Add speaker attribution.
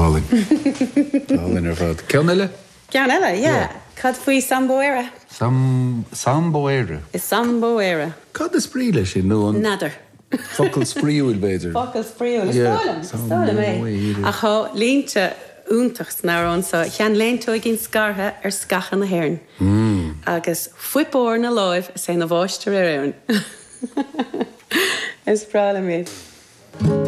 Speaker 1: hálainn. Go hálainn ar fad. Ceann eile?
Speaker 2: Ceann eile, yeah. Cad faoi Sambo Éire?
Speaker 1: Sam, Sambo Éire?
Speaker 2: Sambo Éire.
Speaker 1: Cad is brí leis sin, nó an.
Speaker 2: N'fheadar.
Speaker 1: Focal spraíúil, b'fhéidir.
Speaker 2: Focal spraíúil. Is dóigh liom, is dóigh liom é. Ach tá línte iontach san amhrán seo, Sheanléinteoigín scartha ar sceacha na hÉireann. Agus fuip óir 'na láimh is é 'na mháistir ar Éirinn. Is breá liom iad.